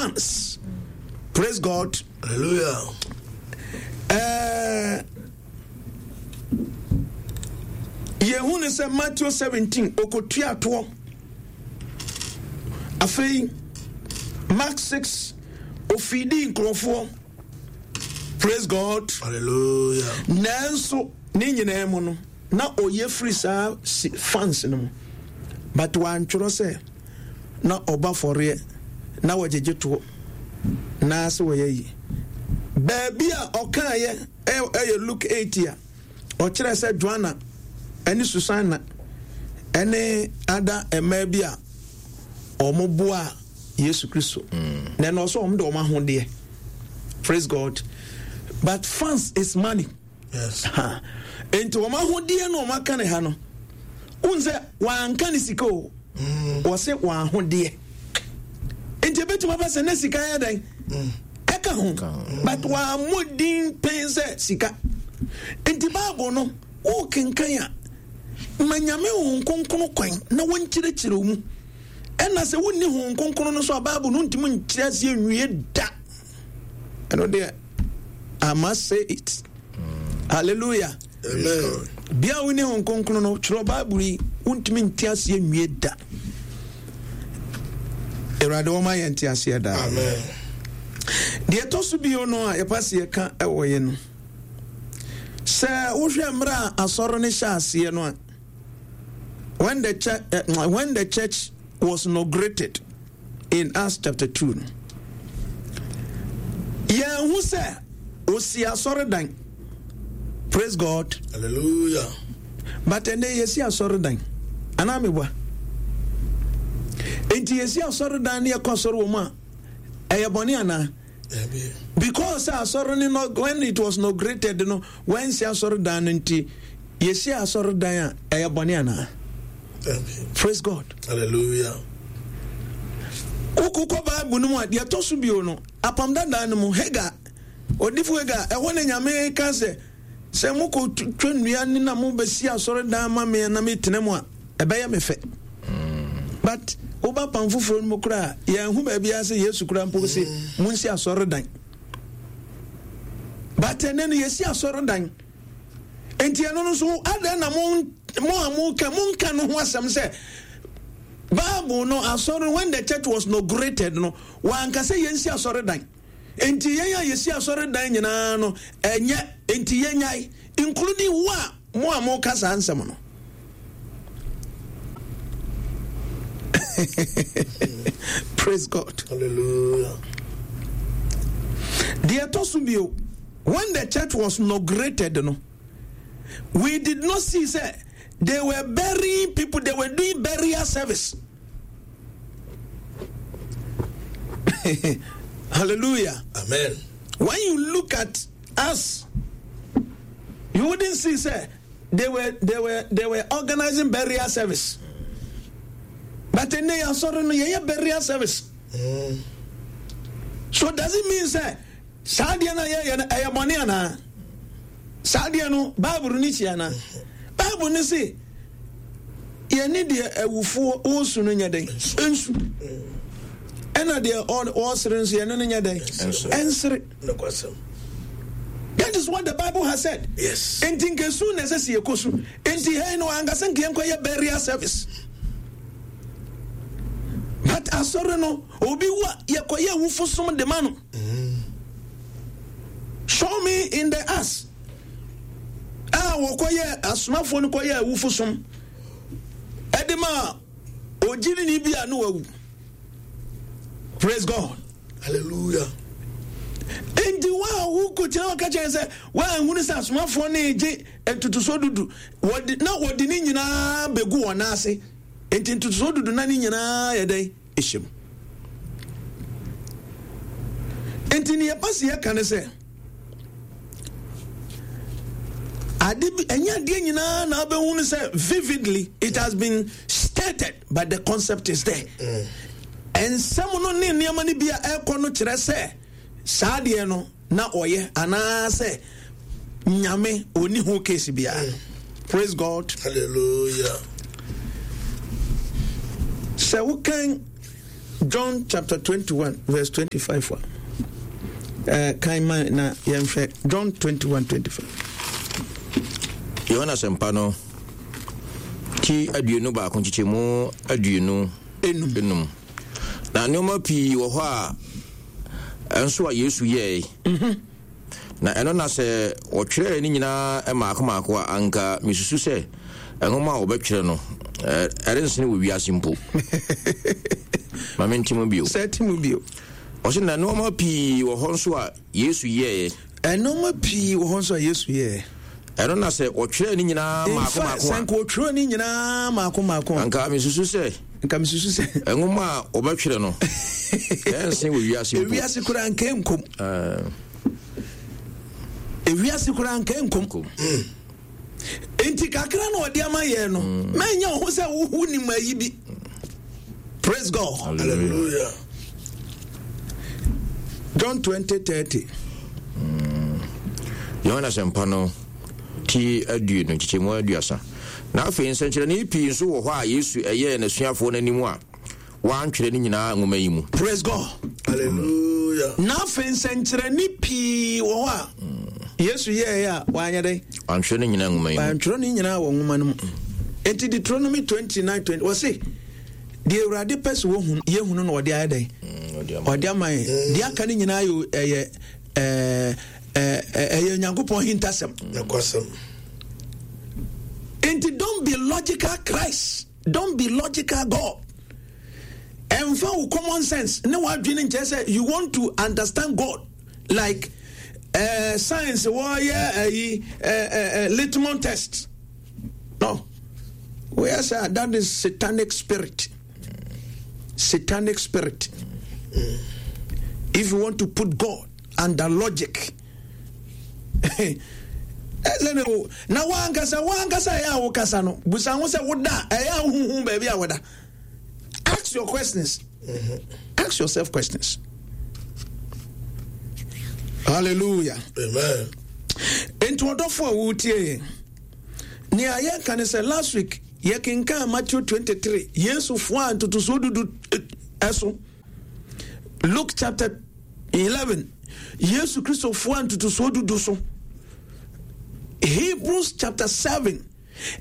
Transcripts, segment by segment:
funds. Praise God. Hallelujah. Yɛhu ne sɛ Matthew 17 okotua toɔ. Afei Mark 6 ofidi nkurɔfoɔ. Praise God. Hallelujah. Nanso ne nyinaa mu no na ɔyɛ firi saa fans no mu but wantwerɛ sɛ na ɔba fɔreɛ na wɔgyegye toɔ na sɛ wɔyɛ yi baabi a ɔkaeɛ ɛyɛ Luke 8 a ɔkyerɛ sɛ Joanna ɛne Susanna ɛne ada mmaa bi a wɔn boa Yesu Kristo mm. na ɛna ɔsɛ wɔn de wɔn ahodeɛ. Praise God, but funds is money. Yes. Nti wɔn ahodeɛ no wɔn aka ne ha no n sɛ wɔanka ne sika o. Wɔse wɔn ahodeɛ nti ebetumi aba sɛ ne sika yɛ dɛn ɛka ho, but wɔammɔ din pɛn sɛ sika. Nti Bible no wokenkan a, ma Nyame Honhom Kronkron kwan na wɔnkyerɛkyerɛ wo mu. Ɛna sɛ wonni Honhom Kronkron no so a, Bible no ntumi nkyerɛ aseɛ nwie da. Ɛno deɛ, I must say it. Hallelujah. Amen. Bia wonni Honhom Kronkron no, twerɛ Bible yi, wontumi nte aseɛ nwie da. Awurade wɔma yɛn nte aseɛ daa. Amen. Deɛ ɛtɔ so bio no a yɛpa sɛ yɛka ɛwɔ yɛ no, sɛ wohwɛ mmerɛ a asɔre no hyɛ aseɛ no a, when the church was inaugurated in Acts chapter 2 no, yɛnhu sɛ osi asɔredan. Praise God. Hallelujah. But ɛnɛ yɛsi asɔredan anaa meboa? Enti yɛsi asɔredan ne yɛkɔ asɔre wɔ mu a, ɛyɛ bɔne anaa? Because sɛ asɔre no no when it was inaugurated no, wɔansi asɔredan no nti, yɛsi asɔredan a ɛyɛ bɔne anaa? Praise God. Hallelujah. Wokokɔ Bible no mu a, deɛ ɛtɔ so bio no, apam dadaa no mu, Hagar, odifo Hagar, ɛhɔ na Nyame ka sɛ, sɛ mokɔ twa nnua ne na mobɛsi asɔredan ma me na metena mu a, ɛbɛyɛ me fɛ. But woba pam foforɔ no mu koraa, yɛnhu baabiara sɛ Yesu koraa mpo se monsi asɔredan. But ɛnɛ no yɛsi asɔredan. Nti ɛno no nso adɛn na mo a moka monka no ho asɛm sɛ Bible no asɔre when the church was inaugurated no wanka sɛ yɛnsi asɔredan. Nti yɛn a yɛsi asɔredan nyinaa no ɛnyɛ nti yɛnyae, including wo a mo a moka saa nsɛm no. Praise God. Hallelujah. Deɛ ɛtɔ so bio, when the church was inaugurated no, we did not see sɛ they were burying people, they were doing burial service. Hallelujah. Amen. When you look at us, you wouldn't see say they were organizing burial service. But in the sorry no yeah burial service. So does it mean say saa deɛ no yɛyɛ no ɛyɛ bɔne anaa? Saa deɛ no Bible no kyia anaa? Bible no se yɛne deɛ awufoɔ wɔsu no nyɛ dɛn? Nsu. Ɛna deɛ ɔsere nso yɛne no nyɛ dɛn? Ɛnsere. That is what the Bible has said. Yes. Enti nkesu na ɛsɛ sɛ yɛkɔ su. Enti hɛn no ankasa nka yɛnkɔ yɛ burial service. But asɔre no obi wu a yɛkɔ yɛ awufo som de ma no. Show me in the Acts a wɔkɔ yɛ asomafoɔ no kɔ yɛ awufo som ɛde ma ogyinini bi a no wawu. Praise God. Hallelujah. Enti wo a wokɔgyina hɔ ka kyerɛ sɛ woanhunu sɛ asomafoɔ no regye ntotosoɔ dudu, wɔde, na wɔde ne nyinaa bɛgu wɔn nan ase. Enti ntotosoɔ dudu na ne nyinaa yɛ dɛn? Ɛhyɛ mu. Enti ne yɛpa se yɛka ne sɛ, ade bi, ɛnyɛ adeɛ nyinaa na wobɛhunu sɛ vividly it has been stated, but the concept is there. Nsɛm no ne nneɛma no bi a ɛkɔ no kyerɛ sɛ saa adeɛ no na ɔyɛ anaasɛ Nyame ɔni ho case biara. Praise God. Hallelujah. Sɛ wokan John chapter 21 verse 25 a, eh, kan ma na yɛnhwɛ John 21 25. Yohane Asɛmpa no ti 21 nkyekyɛmu 25 enum. Na nneɛma pii wɔ hɔ a ɛnso a Yesu yɛe. Na ɛno na sɛ wɔtwerɛɛ ne nyinaa mmaako mmaako a, anka mesusu sɛ nwoma a wɔbɛtwerɛ no, ɛrensene wɔ wiase mpo. Ma mente mu bio. Sɛ te mu bio. Ɔse na nneɛma pii wɔ hɔ nso a Yesu yɛeɛ. Nneɛma pii wɔ hɔ nso a Yesu yɛeɛ. Ɛno na sɛ wɔtwerɛɛ ne nyinaa mmaako mmaako a. Sɛ nka wɔtwerɛɛ ne nyinaa mmaako mmaako a. Anka mesusu sɛ. Nka mesusu sɛ. Nwoma a wɔbɛtwerɛ no, ɛrensen wɔ wiase mpo. Ewiase koraa nka ɛnkom. Ewiase koraa nka ɛnkom. Nti kakra na ɔde ama yɛn no, mɛnyɛ wo ho sɛ wohu nim ayi bi. Praise God. Hallelujah. John 20 30. Yohane Asɛmpa no ti aduonu nkyekyɛmu 30. Na afei nsɛnkyerɛnne pii nso wɔ hɔ a Yesu ɛyɛɛ n'asuafoɔ no anim a wɔantwerɛ ne nyinaa nwoma yi mu. Praise God. Hallelujah. Na afei nsɛnkyerɛnne pii wɔ hɔ a Yesu yɛɛ a wanyɛ dɛn? Wantwerɛ ne nyinaa nwoma yi mu. Wantwerɛ ne nyinaa wɔ nwoma no mu. Enti Deuteronomy 29 20 wɔse deɛ Awurade pɛ sɛ wɔhunu yɛhunu na ɔde ayɛ dɛn? Ɔde ama yɛn. Deɛ aka no nyinaa yɛ ɛyɛ ɛɛ ɛyɛ Onyankopɔn hintasɛm. Nokwasɛm. Enti don't be logical Christ. Don't be logical God. Ɛmfa wo common sense ne w'adwene nkyerɛ sɛ you want to understand God like science wɔyɛ ayi uh, uh, litmus test. No. Wɔyɛ sɛ that is satanic spirit. Satanic spirit. If you want to put God under logic, ɛsɛ ne o na wankasa wankasa ɛyɛ a wokasa no busa ho sɛ woda ɛyɛ a wohuhu baabi a woda. Ask your questions. Ask yourself questions. Hallelujah. Amen. Nti ɔdɔfo a wotie yɛn. Nea yɛka ne sɛ last week yɛkenkan Matthew 23 Yesu foa ntotosoɔ dudu ɛso. Luke chapter 11 Yesu Kristo foa ntotosoɔ dudu so. Hebrews chapter 7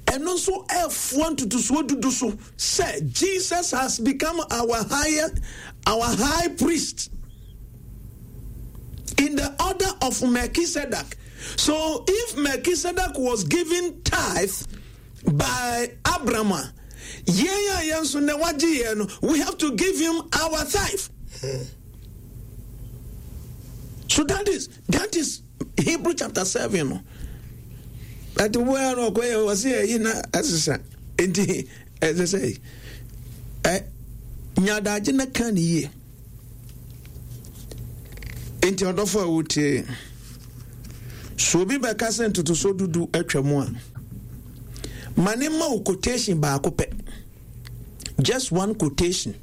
ɛno nso ɛfoa ntotosoɔ dudu so sɛ Jesus has become our higher our high priest in the order of Melchizedek. So if Melchizedek was given tithe by Abraham, yɛn a yɛn nso na wagye yɛn no, we have to give him our tithe. So that is Hebrew chapter 7 no. But wo ara no ɔkɔyɛ ɔse ɛyi na ɛsesa nti ɛsɛ sɛ ɛ nyadagye na ka ne yie. Nti ɔdɔfo a wotie so obi bɛka sɛ ntotosoɔ dudu atwa mu a ma ne ma wo quotation baako pɛ, just one quotation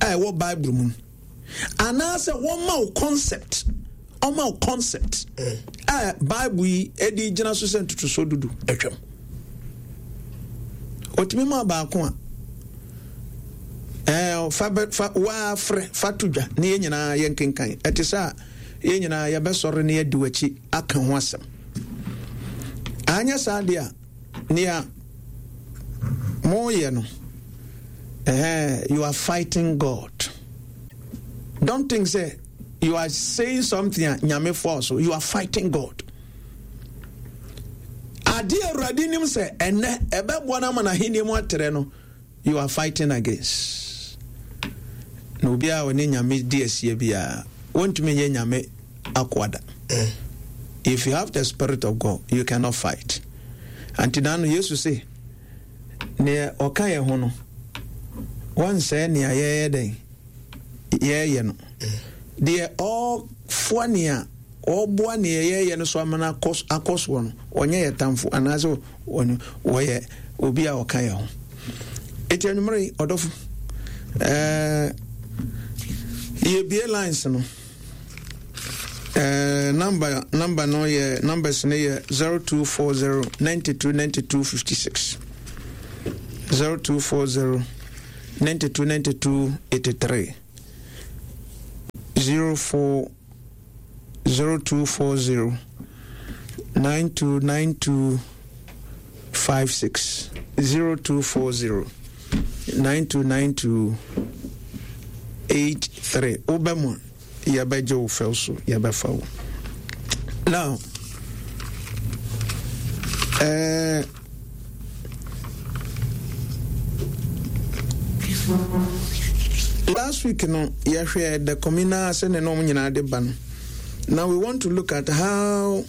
a ɛwɔ Bible mu, anaasɛ wɔma wo concept, ɔma wo concept a Bible yi de gyina so sɛ ntotosoɔ dudu atwam. Ɔtumi ma baako a ɛɛ fa bɛ fa waafrɛ fa to dwa ne yɛn nyinaa yɛn kenkan. Ɛte sɛ a yɛn nyinaa yɛbɛsɔre ne yɛdi w'akyi aka ho asɛm. Anyɛ saa deɛ a nea moyɛ no, ɛhɛn, you are fighting God. Don't think say you are saying something a Nyame force. You are fighting God. Ade Awurade nim sɛ ɛnɛ ɛbɛboa no ama n'ahenni mu atrɛ no, you are fighting against. Na obiara a ɔne Nyame di asie biara, wɔntumi nyɛ Nyame akoa da. If you have the spirit of God, you cannot fight. Anti na no Yesu se, nea ɔka yɛn ho no, wɔnsɛe nea yɛyɛ dɛn yɛyɛ no. Deɛ ɔfoa nea ɔboa nea yɛyɛ no so ama no akɔ soɔ no, ɔnyɛ yɛ tamfo anaasɛ wɔyɛ obi a ɔka yɛn ho. Eti anwummere yi, ɔdɔfo, yɛbie lines no. Number no yɛ, numbers no yɛ 0240 92 92 56. 0240 92 92 83 04 0240 92 92 56 0240 92 92 83 wobɛ mu a yɛbɛgye wo fɛw so yɛbɛfa wo now eh, last week no yɛhwɛ the communal sɛne na ɔmo nyinaa de ba no now we want to look at how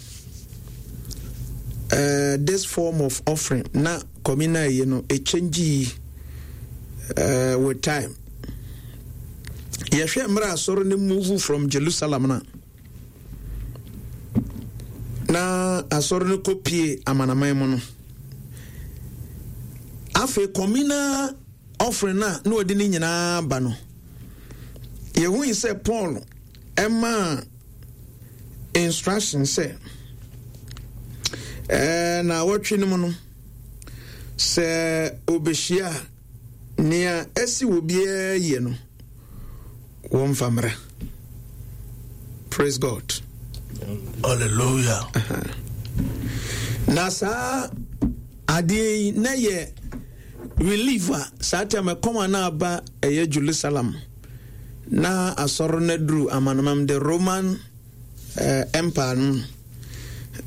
uh, this form of offering na communal yi no ɛkyɛngyi uh, with time yɛhwɛ mmerɛ asɔre no move from jerusalem no na asɔre no kɔpie amanaman mu no afei communal offering no a na ɔde ne nyinaa ba no yɛhui sɛ paul ɛmaa instruction sɛ ɛɛ na wɔtwe no mu no sɛ obehyia a nea asi wɔ biara yie no wɔmfa mmra praise god hallelujah na saa adeɛ yi na yɛ relief a saa tam ɛkɔm a na aba ɛyɛ jerusalem na asɔre no aduru amanamam the roman uh, empire no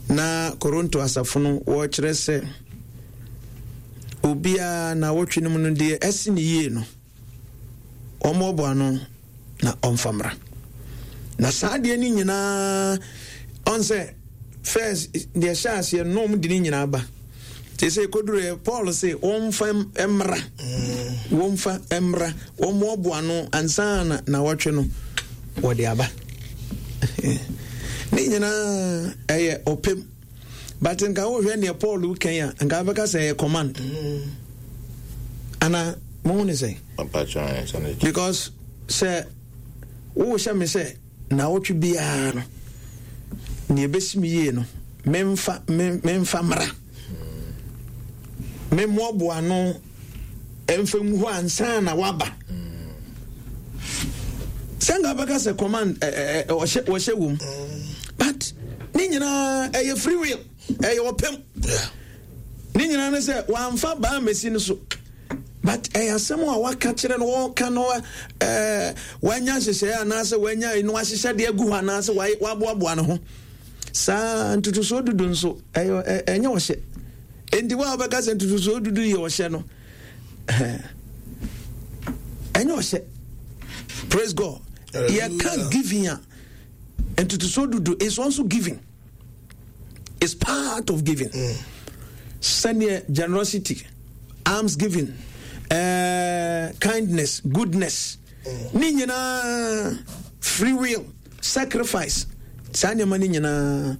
na koronto asafo no wɔkyerɛ sɛ obiara na wɔtwe no mu no deɛ ɛsi ne yie no ɔmmoaboa ano na ɔmfa mmra na saa adeɛ no nyinaa ɔn sɛ first deɛ hyɛ aseɛ no ɔm de ne nyinaa ba te sɛ ɛkɔduru paul se wɔmfa mmra wɔmfa mmra wɔmmoaboa ano ansa na na wɔtwe no wɔde aba ne nyinaa ɛyɛ ɔpɛm but nka wohwɛ neɛ paul kan a nka wobɛka sɛ ɛyɛ command mm. ana mohu ne sɛn because sɛ wohyɛ me sɛ naawɔtwe biara no neɛ ɛbɛsi me yie no memfa memfa mmara memmoaboa no ɛmfa ngu hɔ ansa na waba sɛ nka bɛka sɛ command ɔhyɛ wom but ne nyinaa ɛyɛ free will ɛyɛ ɔpɛm ne nyinaa ne sɛ wamfa baa mɛsi no so but ɛyɛ asɛm a waka kyerɛ no wɔka no ɛɛ wanya nhyehyɛeɛ anaasɛ wanya no ahyehyɛ de agu hɔ anaasɛ waboaboa ne ho saa ntotosoɔ dudu nso ɛyɛ ɛnyɛ ɔhyɛ Enti wo a wobɛka sɛ ntotosoɔ dudu yɛ ɔhyɛ no, ɛnyɛ ɔhyɛ. Praise God. Yɛka giving a, ntotosoɔ dudu is also giving. It's part of giving. Mm. Sɛdeɛ generosity, alms giving, uh, kindness, goodness, mm. ne nyinaa free will, sacrifice, saa nneɛma no nyinaa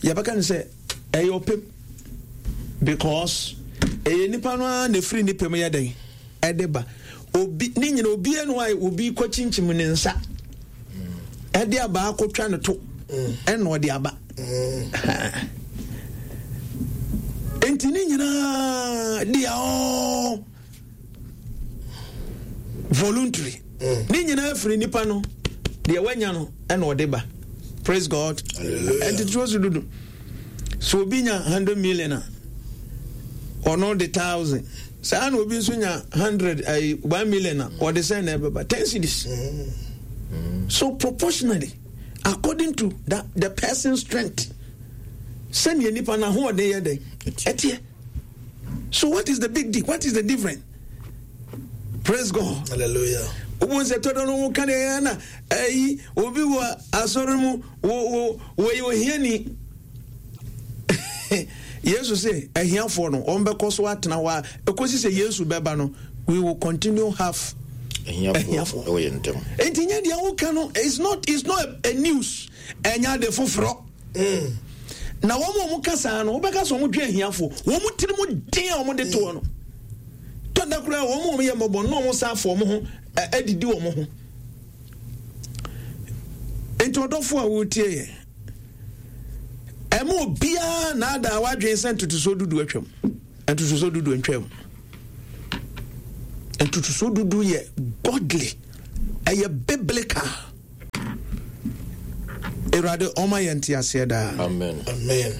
yɛbɛka no sɛ ɛyɛ ɔpɛm because ɛyɛ nipa no ara na efiri ne pɛm yɛ dɛn ɛde ba obi ne nyina obi ɛnu a obi kɔ kyinkyim ne nsa ɛde aba akɔtwa ne to ɛna ɔde aba nti ne nyinaa they are all voluntary mm. ne nyinaa firi nipa no deɛ wanya no ɛna ɔde ba praise god ɛnti turo so dudu so obi nya hundred million a ɔno de thousand saa na obi nso nya hundred ayi one million a ɔde sɛn na ɛbɛba ten cedis mm. so proportionally according to that the person's strength sɛnea nipa na ahoɔden yɛ dɛ ɛteɛ. So what is the big deal? What is the difference? Praise God. Hallelujah. Wobɔ nsɛ tɔdɔ no wo ka deɛ ɛyɛ na ɛyi obi wɔ asɔre mu wo wo wɔyɛ ohiani. Yesu sɛ ahiafoɔ no wɔn bɛkɔ so atena hɔ a ɛkɔsi sɛ Yesu bɛba no we will continue have ahiafoɔ. Nti nyɛ deɛ woka no it's not it's not a, a news ɛnyɛ ade foforɔ. Mm. Na wɔn a wɔka saa no, wobɛka sɛ wɔdwe ahiafo. Wɔn tiri mu den a wɔde toɔ no. Tɔda koraa wɔn a wɔyɛ mmɔbɔ no na wɔn san afɔ wɔn ho adidi wɔn ho. Nti ɔdɔfo a wotie yɛ, ɛma obiara naadaa wadwen sɛ ntotosoɔ dudu atwam. Ntotosoɔ dudu ntwam. Ntotosoɔ dudu yɛ godly, ɛyɛ biblical. Awurade ɔma yɛn nteaseɛ daa. Amen. Amen.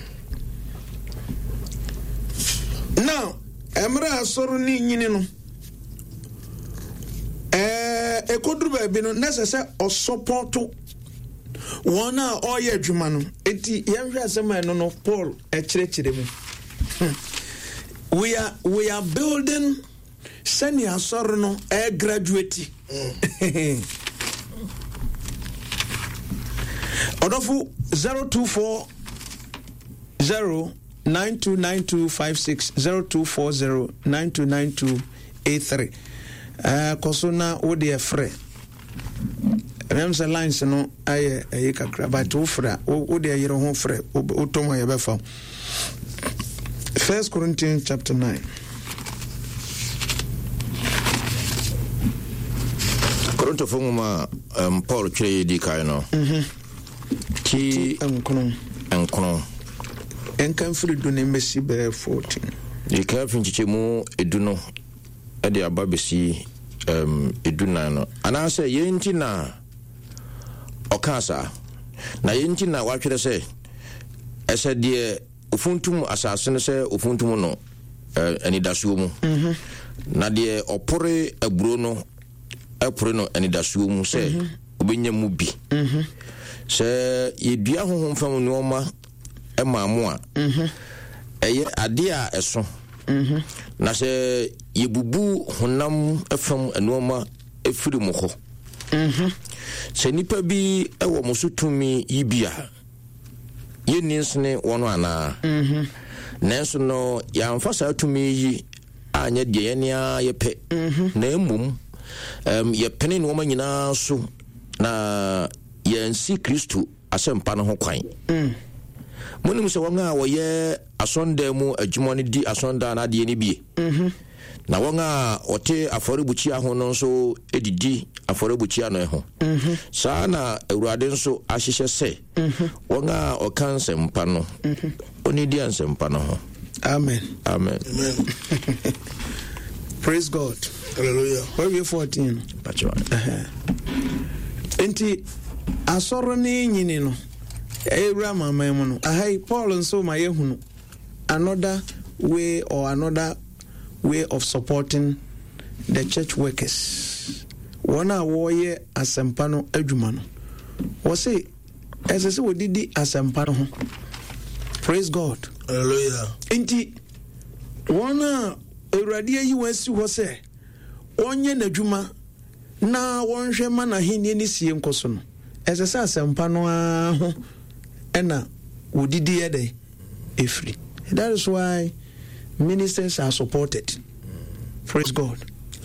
Now, mmerɛ a asɔre no nyini no, ɛɛ ɛkɔduru baabi no, na ɛsɛ sɛ ɔsɔpɔto wɔn a ɔreyɛ adwuma no. Eti yɛnhwɛ asɛm a ɛno no Paul ɛkyerɛkyerɛ mu. We are we are building sɛnea asɔre no ɛregraduate. Ɔdɔfo 024 0 929256 0240 929283 ɛɛ kɔ so na wo deɛ frɛ ɛnam sɛ lines no ayɛ ɛyi kakra but wo frɛ a wo deɛ yere ho frɛ wotɔ mu a yɛbɛfa First Corinthians chapter 9. Korintofo nwoma a um, Paul twerɛ yɛ di kan no. Mhm. Ti nkono. Nkono. Ɛnka mfiri du ne mmɛsi bɛyɛ 14. Yɛka fi nkyekyɛmu edu no de aba bɛsi um, edu nan no. Anaasɛ yɛn nti na ɔkaa saa. Na yɛn nti na watwerɛ sɛ ɛsɛ deɛ ofuntum asase no sɛ ofuntum no eh, anidasoɔ mu. Mhm. Na deɛ ɔpore aburo no pore no anidasoɔ mu sɛ mhm. obɛnya mu bi. Mhm. Sɛ yɛdua honhom fam nneɛma maa mo a, ɛyɛ adeɛ a ɛso. Na sɛ yɛbubu honam fam nneɛma firi mo hɔ. Sɛ nnipa bi wɔ mo so tumi yi bi a, yɛnni nsene wɔn anaa? Mhm. Nanso no, yɛamfa saa tumi yi anyɛ deɛ yɛn ara yɛpɛ, mhm. na mmom um, yɛpene nneɛma nyinaa so na yɛansi Kristo asɛmpa no ho kwan. Mm. Monim sɛ wɔn a wɔyɛ asɔndan mu adwuma no di asɔndan no adeɛ no bie. Mhm. Na wɔn a wɔte afɔrebukyia ho no nso didi afɔrebukyia no ho. Mhm. Saa na Awurade nso ahyehyɛ sɛ mhm. wɔn a wɔka nsɛmpa no, mhm. ɔnidi nsɛmpa no ho. Amen. Amen. Amen. Praise God. Hallelujah. Wawie 14. Nti asɔre ne nyini no ɛwura amaman mu no aha yi Paul nso ma yɛhunu another way or another way of supporting the church workers wɔn a wɔreyɛ asɛmpa no adwuma no wɔse ɛsɛ sɛ wɔdidi asɛmpa no ho praise god hallelujah nti wɔn a awurade ayi wɔn asi hɔ sɛ wɔnyɛ n'adwuma na wɔnhwɛ ma n'ahenni ne sie nkɔ so no ɛsɛ sɛ asɛmpa no ara ho ɛna wɔdidi yɛ dɛn ɛfiri that is why ministers are supported praise god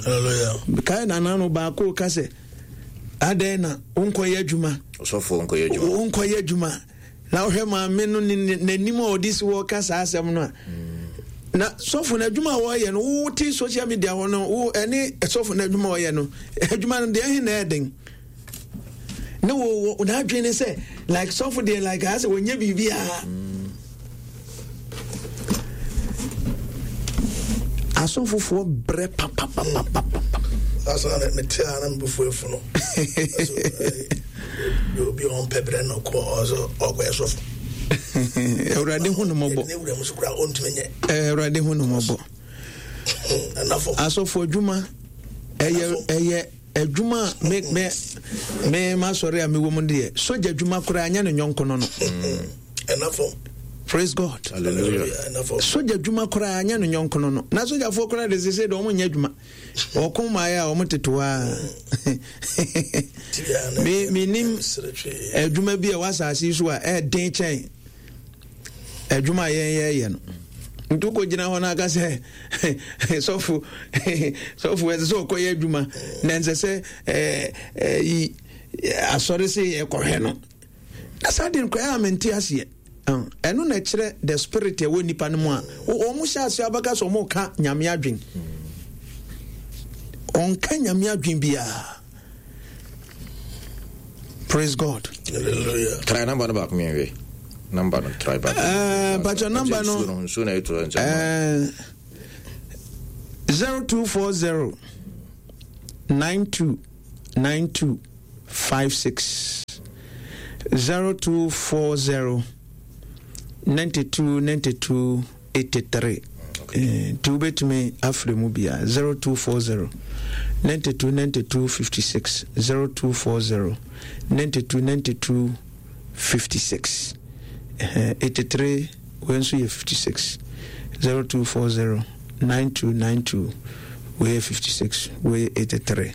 hallelujah kae nana no baako ka sɛ adɛn na wonkɔyɛ adwuma ɔsɔfoɔ nkɔyɛ adwuma wonkɔyɛ adwuma na wohwɛ maame no n'anim a ɔde si hɔ ka saa asɛm no a na sɔfo no adwuma a wɔyɛ no wote social media hɔ no wo ɛne sɔfo no adwuma a ɔyɛ no adwuma no deɛ ɛhe na ɛden ne wo n'adwene ne sɛ like sɔfo deɛ like ayɛ sɛ wɔnyɛ biribiara asɔfofoɔ brɛ papapapapa. Asa na mete a na mebɛfu afu no obi a ɔmpɛ brɛ no kɔ ɔsɛ ɔkɔyɛ sɔfo. Awurade hu no mmɔbɔ. Ne wura mu so koraa ɔntumi nyɛ. Awurade hu no mmɔbɔ. Asɔfo adwuma ɛyɛ ɛyɛ Adwuma a me me me m'asɔre a mewɔ mu deɛ sogya adwuma koraa nyɛ ne nyɔnko no no. Ɛna Praise God. Hallelujah. Sogya adwuma koraa nyɛ ne nyɔnko no no. Na sogyafoɔ koraa de sese de wɔn nyɛ adwuma. Ɔko mmaeɛ a wɔn tete hɔ a. Me me nim adwuma bi a ɛwɔ asase yi so a ɛɛden kyɛn adwuma a yɛn yɛyɛ no. Nti wokɔgyina hɔ no aka sɛ sɔfo sɔfo ɛsɛ sɛ ɔkɔyɛ adwuma na ɛnsɛ sɛ yi asɔre sɛ yɛkɔhwɛ no na saa deɛ nkɔyɛ a mente aseɛ ɛno na ɛkyerɛ the spirit ɛwɔ nipa no mu a wɔn hyɛ aseɛ abɛka sɛ wɔn ka nyame adwen ɔnka nyame adwen biara praise god hallelujah try number no baako mmiɛnhwɛ number no try baako ɛɛ patro number no nsuo na ɛtɔ nkyɛn ɛɛ 0240. 92 92 56 0240 92 92 83 nti wobɛtumi afrɛ mu bia 0240 92 92 56 0240 92 92 56 83 wei nso yɛ 56 0240 92 92 wei yɛ 56 wei yɛ 83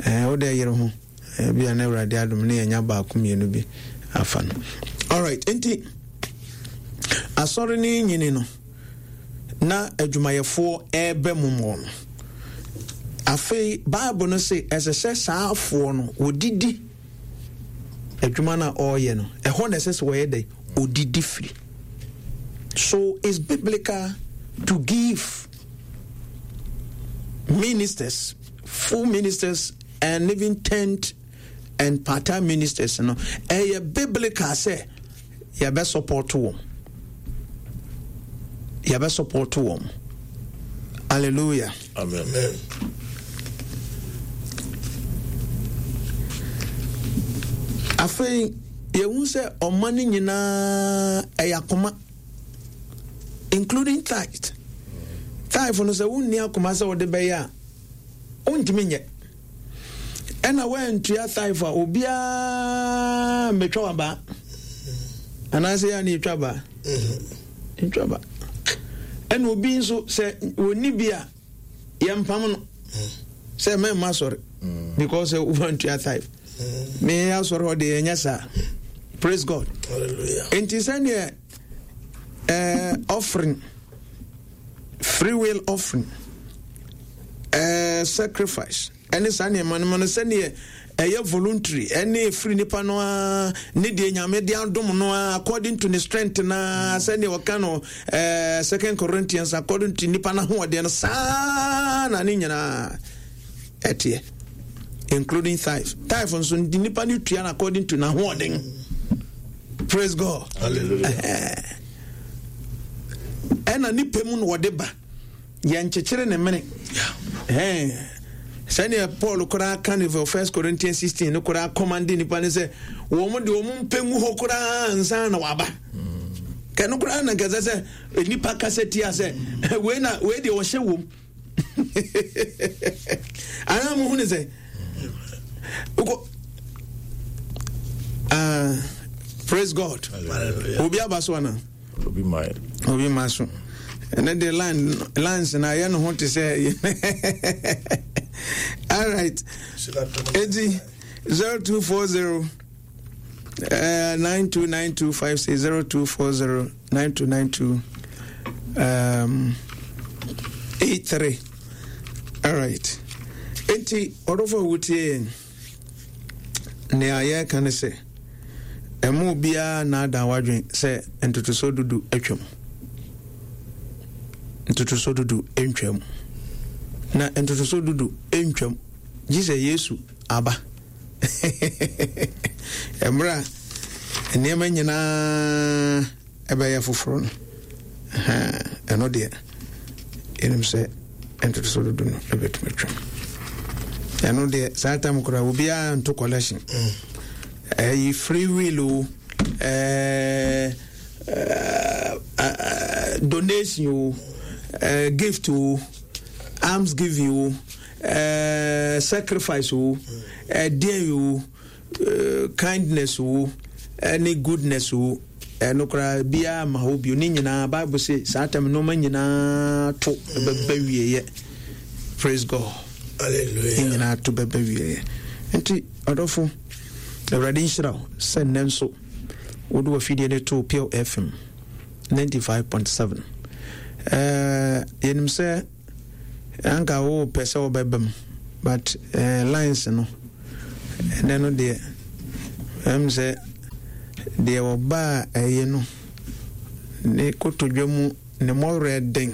ɛɛ wode yere ho Ebia na Awurade adom ne yɛanya baako mmienu bi afa no. Alright, nti asɔre no nyini no na adwumayɛfoɔ ɛreba mu mɔ no. Afei Bible no se ɛsɛ sɛ saa afoɔ no wɔdidi adwuma no a ɔreyɛ no ɛhɔ na ɛsɛ sɛ wɔyɛ dɛ ɔdidi firi. So it's biblical to give ministers, full ministers and even tent and part-time ministers no ɛyɛ biblical sɛ yɛbɛ support wɔn yɛbɛ support wɔn hallelujah amen afei yɛhu sɛ ɔma no nyinaa ɛyɛ akoma including tithe tithe no sɛ wonni akoma sɛ wode bɛyɛ a Wontumi nyɛ. Ɛna woantua tithe a obiara mmɛtwa w'abaa. Anaasɛ yɛ a na yɛtwa abaa. Yɛtwa abaa. Ɛna obi nso sɛ wɔnni bi a yɛmpam no sɛ mɛmma asɔre because woantua tithe. Me asɔre hɔ deɛ yɛnyɛ saa. Praise God. Enti sɛdeɛ eh, offering free will offering eh, sacrifice ɛne saa nneɛma no ma no sɛdeɛ ɛyɛ voluntary ɛne ɛfiri nipa no ara ne deɛ nyame de adom no ara according to ne strength na sɛdeɛ ɔka no eh, second corinthians according to nipa no ahoɔden no saa na ne nyinaa ɛteɛ including tithe tithe nso nipa no tua no according to n'ahoɔden praise god hallelujah ɛna ne pɛ mu na wɔde ba yɛnkyekyere ne mene sɛdeɛ paul koraa ka ne first corinthians 16 no koraa kɔmande nipa no sɛ wɔn de wɔn mpɛ ngu hɔ koraa nsa na waba kɛno koraa na nkɛsɛ sɛ nipa kasa tia sɛ wei na wei deɛ ɔhyɛ wom anaa mo hu ne sɛ wokɔ ah, praise god obi aba so ana obi ma obi ma so ɛnɛ de line lines na ayɛ ne ho te sɛ all right eti 0240 929256 0240 9292 83 alright enti ɔdɔfo a wotie yɛn nea yɛreka ne sɛ ɛma obiara naadaa wadwen sɛ ntotosoɔ dudu atwam ntotosoɔ dudu ntwam na ntotosoɔ dudu ntwam gye sɛ yesu aba Mmerɛ a nneɛma nyinaa ɛbɛyɛ foforɔ no, ɛno deɛ yɛnim sɛ ntotoso dodo no ɛbɛtumi atwam. Ɛno deɛ saa tam koraa obiara nto collection. Mm. Ɛyi free will o, ɛɛ donation o, gift o, alms giving o. Eh, sacrifice o ɛdeɛn o eh, kindness o ɛne goodness o ɛno koraa biara ma hɔ bio ne nyinaa bible se saa tam nneɛma nyinaa to bɛbɛ wieɛ praise god ne nyinaa to bɛbɛ wieɛ nti ɔdɔfo awurade nhyira wo sɛ nnɛ nso wode wafidie no too pure fm 95.7 eh, yɛnim sɛ Anka wo pɛ sɛ wobɛba mu but eh, lines no ɛnɛ no deɛ ɛm sɛ deɛ ɔbaa ɛyɛ no ne kotodwe mu ne mmɔwerɛ den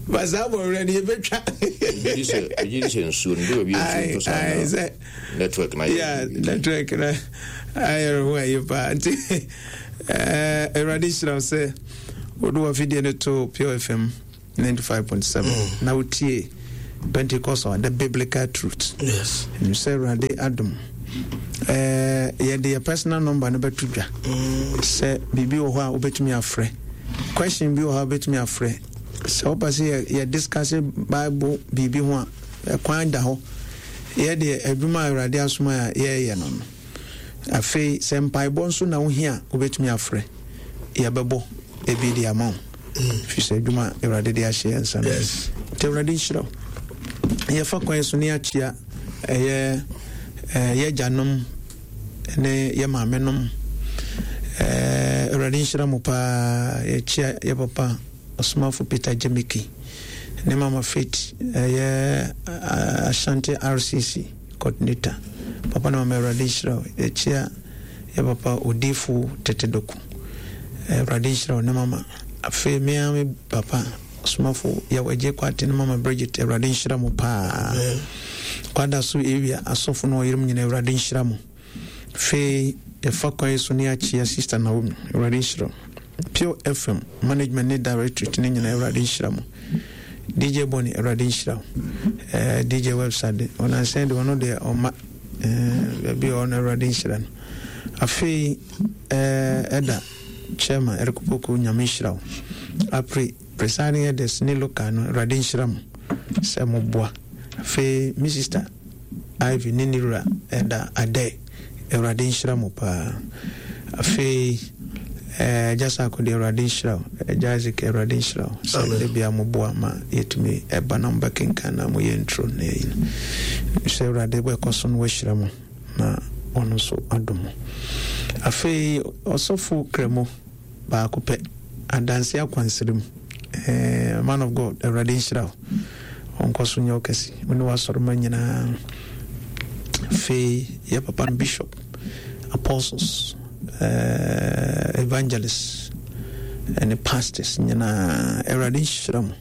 ba saa mmɔwerɛ no yɛbɛtwa megye di sɛ nsuo no de baabi nsuo ntɔ saa na network na yɛ network na ayɛ ho ayɛ paa nti Eh, Awurade nhyira wo sɛ wode w'afidie no to Pure FM 95.7 mm. na wotie Pentecost hour, the biblical truth. Yes. Sɛ Awurade adom. Eh, yɛde yɛ personal number no bɛto dwa. Sɛ biribi wɔ hɔ a wobɛtumi afrɛ. Question bi wɔ hɔ a wobɛtumi afrɛ. Sɛ wopɛ sɛ yɛ, yɛ discuss Bible biribi ho a, ɛkwan da hɔ. Yɛdeɛ adwuma a Awurade asoma a yɛreyɛ no no. Afei sɛ mpaebɔ nso na wohia a, wobɛtumi afrɛ. Yɛbɛbɔ ebi de ama wo. Firi sɛ adwuma a Awurade de ahyɛ yɛn nsa no. Nti Awurade nhyira wo. Yɛfa kwan so ne yɛakyia ɛyɛ yɛ agyanom ne yɛ maamenom. Awurade nhyira mo paa. Yɛkyia yɛ papa Ɔsomafo Peter Gyemiki ne Mama Faith ɛyɛ Ashanti RCC coordinator. Papa ne mama Awurade nhyira wo. Yɛkyia yɛ papa Odifo Tete Doku. Awurade nhyira wo ne mama. Afei me ara me papa Ɔsomafo Yaw Agyei Kwate ne mama Bridget Awurade nhyira mo paa. Kwada so area asɔfo ne ɔyerom nyina Awurade nhyira mo. Afei yɛfa kwan yi so ne yɛakyia Sister Naomi, Awurade nhyira wo. Pure FM management ne directorate ne nyinaa Awurade nhyira mo. DJ Bonnie, Awurade nhyira wo. Eh, DJ Webster de, ɔnansɛn de ɔno deɛ ɔma eh, baabi a ɔno Awurade nhyira no. Afei eh, ɛda chairman Eric Poku, Nyame nhyira wo. Apri presiding elders ne local no, Awurade nhyira mo sɛ moboa. Afei me sister Ivy ne ne wura ɛda Adɛ, Awurade nhyira mo paa. Afei eh, Agya Sako deɛ Awurade nhyira wo. Agya Isaac Awurade nhyira wo sɛ da bia moboa ma yɛtumi ɛba na mobɛkenkan na moyɛ nturo na yɛyi no. Sɛ Awurade bɛkɔ so no wahyira mo na ɔno nso adom mo. Afei ɔsɔfo Kramo Baako pɛ. Adanse akwansra mu. Eh, man of God, Awurade nhyira wo. Ɔnkɔ so nyɛ wo kɛse. Wo ne w'asɔrema nyinaa. Afei, yɛ papa no bishop, apostles, eh, evangelists, ne pastors nyinaa. Awurade nhyira mo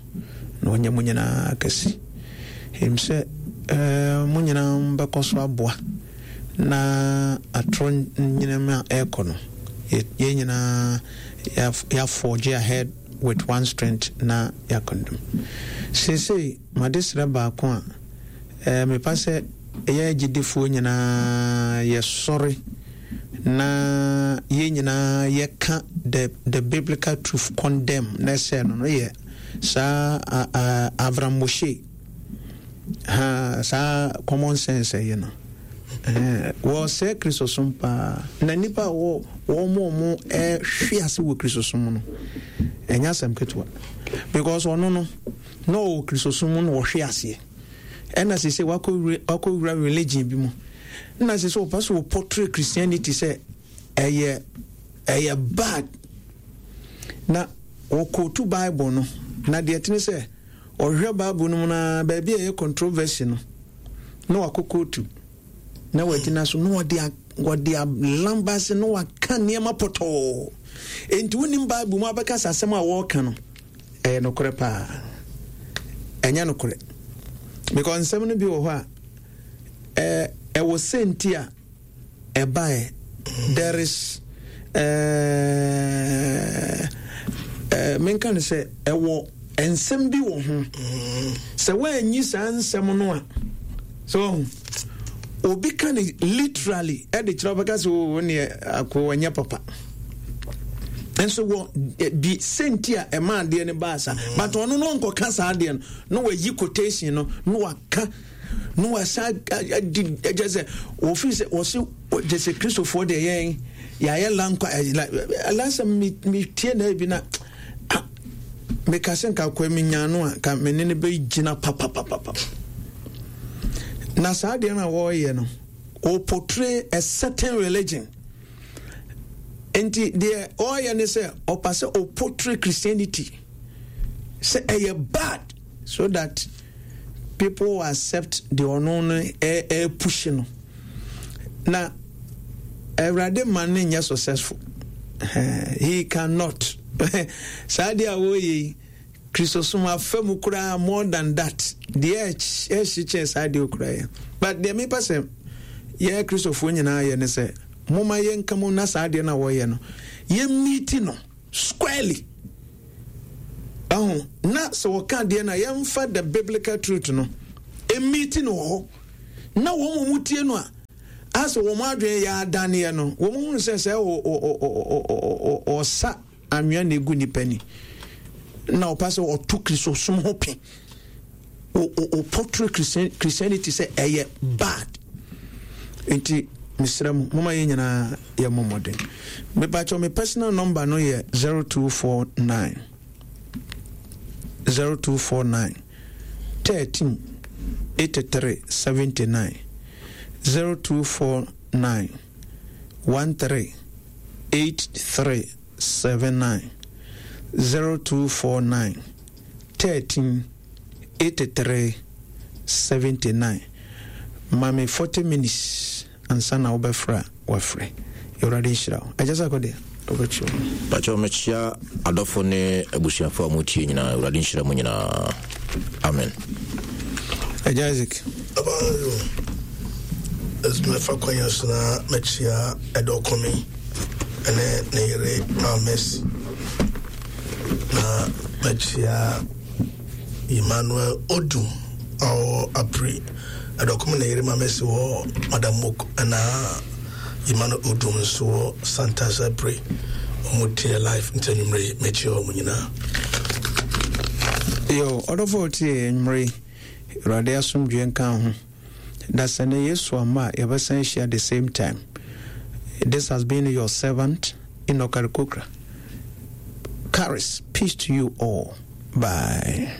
na ɔnyɛ mo nyinaa kɛse. Ɛnim sɛ eh, mo nyinaa bɛkɔ so aboa na atorɔ nyinam a ɛrekɔ no, yɛn nyinaa yɛafɔgye ahead with one strength na yɛakɔndom. Seesei, m'adesrɛ baako a eh, mepa sɛ yɛn agyidifoɔ nyinaa yɛsɔre na yɛn nyinaa yɛka the, the biblical truth condemn na ɛsɛ no no yɛ saa Avram Moshe Ha, saa common sense ɛyɛ no. Wɔsɛe Kristosom paa. Na nnipa a wɔ wɔn a wɔn ɛhwe ase wɔ Kristosom no, ɛnyɛ asɛm ketewa. Because ɔno no, na ɔwɔ Kristosom mu na ɔhwe aseɛ. Ɛna sese wakɔ wakɔ religion bi mu. Na sese ɔpɛ so portray Christianity sɛ ɛyɛ ɛyɛ bad. Na wɔkɔtu Bible no, na deɛ ɛtene sɛ Ɔhwehwɛ Bible no mu no ara, baabi a ɛyɛ controversy no, na wakɔ kootu, na wagyina so, na wɔde wɔde alambase, na waka nneɛma pɔtɔɔ. Enti wonim Bible mu abɛka sɛ asɛm a wɔreka no, ɛyɛ nokorɛ paa. Ɛnyɛ nokorɛ. Because nsɛm no bi wɔ hɔ a, ɛwɔ sɛnti a ɛbaeɛ there is ɛɛ ɛɛ menka no sɛ ɛwɔ nsɛm bi wɔ ho sɛ woanyi saa nsɛm no a so obi ka no literally ɛde kyerɛ wobɛka sɛ o neɛ ako ɛnyɛ papa nso wɔ bi sɛnti a ɛma adeɛ no baa saa but ɔno no ɔnkɔka saa adeɛ no na wayi quotation no na waka na wasa adi kyɛ sɛ wɔfiri sɛ wɔse kyɛ sɛ kristofoɔ deɛ yɛn yɛayɛ lankwa last time metie na bi na meka sɛ nka kɔ menya no a ka me ne no bɛgyina papapapapa na saa deɛ no a wɔreyɛ no wɔportray a certain religion nti deɛ ɔreyɛ ne sɛ ɔpa sɛ ɔportray christianity sɛ ɛyɛ bad so that people will accept deɛ ɔno no ɛrepushi no na awurade ma no nyɛ successful he cannot saa deɛ a wɔyɛ yi kristosom afa mu koraa more than that deɛ ɛhye kyɛn saa deɛ okura yɛ but deɛ mepa sɛ yɛ kristofoɔ nyinaa yɛ ne sɛ moma yɛnka mu na saa deɛ no a wɔyɛ no yɛmmiti no squarely Ɛho na sɛ wɔka adeɛ no a yɛmfa the biblical truth no. Ɛmiti no wɔ hɔ. Na wɔn a wɔtie no a, asɛ wɔn adwene yɛ adaneɛ no, wɔn hunu sɛ sɛ ɔsa anwea na egu nipa ni na ɔpa sɛ ɔto Kristosom ho pe. O portray Christianity sɛ ɛyɛ bad. Nti mesrɛ mo, moma yɛn nyinaa yɛ mmɔ mmɔden. Mepakyɛw me personal number no yɛ 0249 0249 13 83 79 0249 13 83 79 0249 13 83 79 Ma me 40 minutes ansa na wobɛfrɛ a wafrɛ. Awurade nhyira wo. Agya Sako deɛ wobɛkyerɛ mu. Pakyɛw mekyia adɔfo ne abusuafo a motie nyinaa. Awurade nhyira mo nyinaa. Amen. Agya Isaac. Abayo, mɛfa kwan yi so na mɛkyia ɛdɔ kɔmi ɛne ne yere Maame Mercy na mɛkyia Emmanuel Odum a ɔwɔ Apri Ɛdɔkom ne yere Maame Mercy wɔ Madam Mok ɛna Emmanuel Odum nso wɔ Santas Apri wɔn tie life nti anwummerɛ yi mɛkyia wɔn nyinaa. Yo, ɔdɔfo a ɔtie anwummerɛ yi, Awurade asomdwoeɛ nka wo ho. Dasani Yesu amma a yɛbɛsan ahyia the same time. This has been your servant Enoch Arikokra. Charis, peace to you all. Bye.